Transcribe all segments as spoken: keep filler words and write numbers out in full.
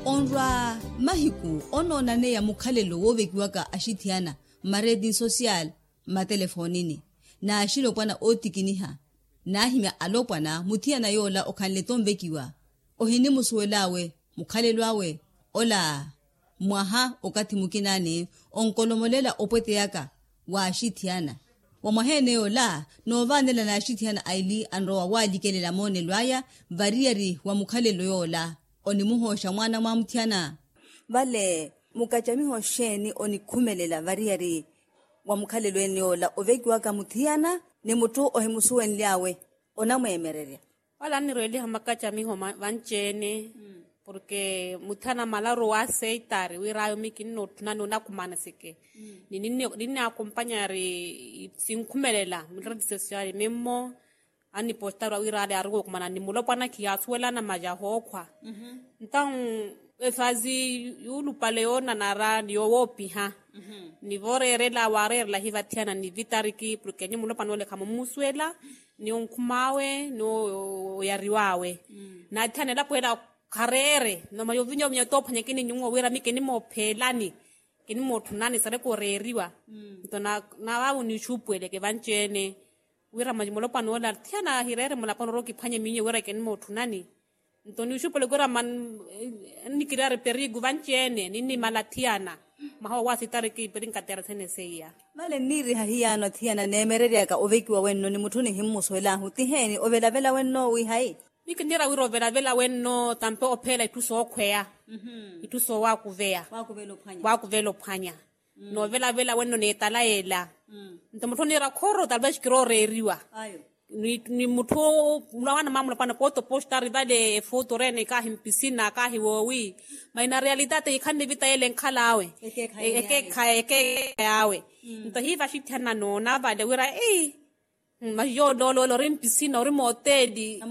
Onrwa mahiku onoonaneya mukhalelo woovekiwaka axithiyana mmareeti sosiyali mmatelefoonini n'axilopwana ootikiniha. N'ahimya alopwana muthiyana yoola okhanle-tho onvekiwa ohinimusuwel'awe mukhalelo awe. Ola mwaha okathi mukinaani onkolomolela opweteyaka w'axithiyana. Wa mwaha-ene yoola noovaanela n'axithiyana aili anrowa waalikelela moonelo aya variyari wa mukhalelo yoola onimuhooxa mwaana mwa muthiyana. Vale mukacamiho xeeni onikhumelela variyari wa mukhalelo ene yoola ovekiwaka muthiyana ni mutthu ohimusuwenly'awe onamweemererya? Wala anniroeliha makacamiho vanci-ene porke muthiyana malaru wa aseitari wir'awe miyo kinnootthunani onakumaniseke ni ninni akompanyari sinkhumelela miratisesiyari mimmo annipostaru awir'ale aruwa okumana ni mulopwana khiyaasuwelana maja hookhwa. Ntawu efazi yuulupale yoonanara ni yowoopiha ni vooreerela waareerela hivathiyana ni vitariki porke nyu mulopwana ole khamumusuwela ni onkhum'awe ni oyariw'awe. Naathiyana elapo ela khareere noma yovinya ovinya toophwanyakini nyuwo wira mi kinimoopheelani kinimootthunani sareke oreeriwa. Nto naavaavu niixuupuweleke vanci-ene wira mulopwana ole athiyana ahireere mulaponi orowa okiphwanye miyo wira kinimootthunani. Nto niixuupuweleke wira nnikiriyari perigu vanci-ene ninnimala athiyana mwaha owo asitariki perinkateera sene seiya. Vale nniiriha hiyaano athiyana neemereryaka ovekiwa wenno ni mutthu nihimmusuwel'ahu tiheeni ovelavela wenno wiihayi? Miyo kinniira wira ovelavela wenno tampe opheela itthu sookhweya itthu soowakuveya waakuvela ophwanya. Noovelavela wenno n'etala ela nto mutthu oniira khoro talvez kirooreeriwa ni mutthu mulawana mwa mulopwana pooti opositari vale efuutu orene kaahi mpisina kaahi woowi. Maina realitaati hikhanle evita yele enkhal'awe ekeekhayi ekeekhayi awe. Nto hiiva axithiyana noona vale wira ei masi yooloolo ori mpisina ori mooteeli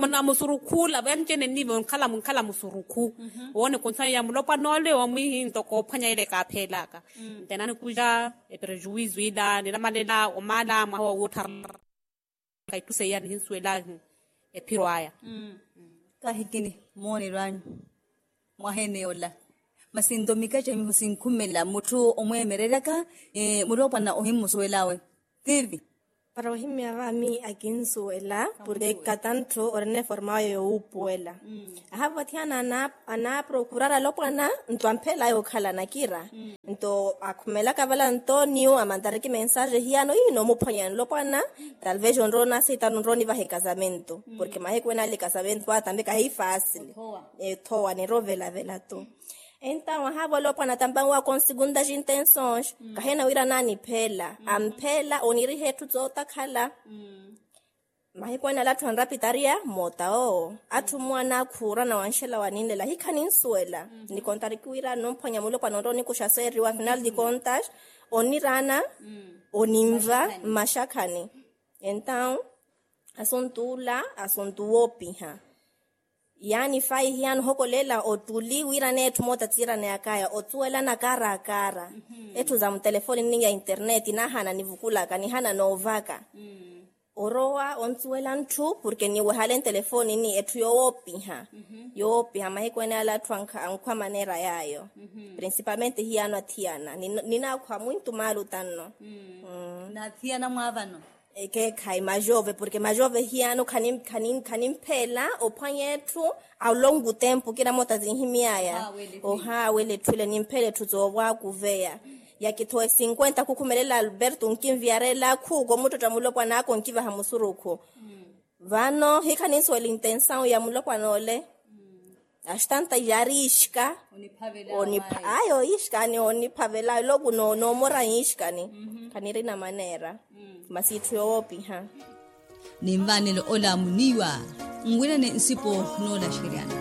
namusurukhula vanci-ene nniivo nkhala musurukhu. Owo ni konsayi ya mulopwana ole omwihi ntoko ophwanya ele kaapheelaka nte nanikuxa eprejuwizu ila ninamalela omala mwaha woottharaka itthu seiya nihinsuwela ephiro aya. Kahikini moonelo anyu mwaha-ene yoola masi nto mikacamiho sinkhumela mutthu omweemereryaka mulopwana ohimmusuwel'awe tivi? Para ohimya vaami akinsuwela porke katantthu orina eforma awe yowuupuwela. Ahavo athiyana anaaprokurara alopwana nto ampheel'aya okhala anakira nto akhumelaka vala nto niyo amantariki mensaje hiyano ii noomuphwanya nlopwana talvez onrowa onasitaru onrowa onivaha ekasamento porke mahiku ene ale ekasamento ata mbe kahi fasili ethowa niro ovelavela to. Entawo ahavo alopwana tampanwaka onsegundas intensões kahina wira naanipheela ampheela oniriha etthu tsotakhala. Mahiku ene ala atthu anrapitariya moota owo atthu mmowa anaakhuura na wanxela waninlela hikhaninsuwela. Nikontariki wira numphwanya mulopwana onrowa onikuxa seeriwa afinal de contas oniraana oninva mmaxakhani. Entawu asuntu ula asuntu woopiha. Yaani fayi hiyano ohokolela ottuli wira n'etthu moota tsiiraneyak'aya otsuwelana kaara kaara etthu za mutelefoni nniya internet naahana nivukulaka nihana noovaka. Orowa ontsuwela ntthu porke niwehale ntelefoni ni etthu yowoopiha. Yowoopiha mahiku ene ala atthu ankhwa maneera yaayo principalmente hiyano athiyana ninaakhwa mwintu maalu tanno. Naathiyana mwaavano ekeekhayi majove porke majove hiyano khanimpheela ophwanya etthu. Ao longu tempu kira moota zinhimy'aya ohaawela etthu ile nimpheela etthu zoovwaakuveya. Yakithowa esinkwenta khukhumelela alberto onkinviyarela khuuko muttotta mulopwan'aka onkivaha musurukhu. Vano hikhaninsuwela intensawu ya mulopwana ole. Axitanta yari ixka onipha ayo ixkani oniphavela loku noomora ixkani. Khanirina maneera masi itthu yowoopiha. Ninvaanelo ola muniiwa nwirene nsipo noolaxeryana.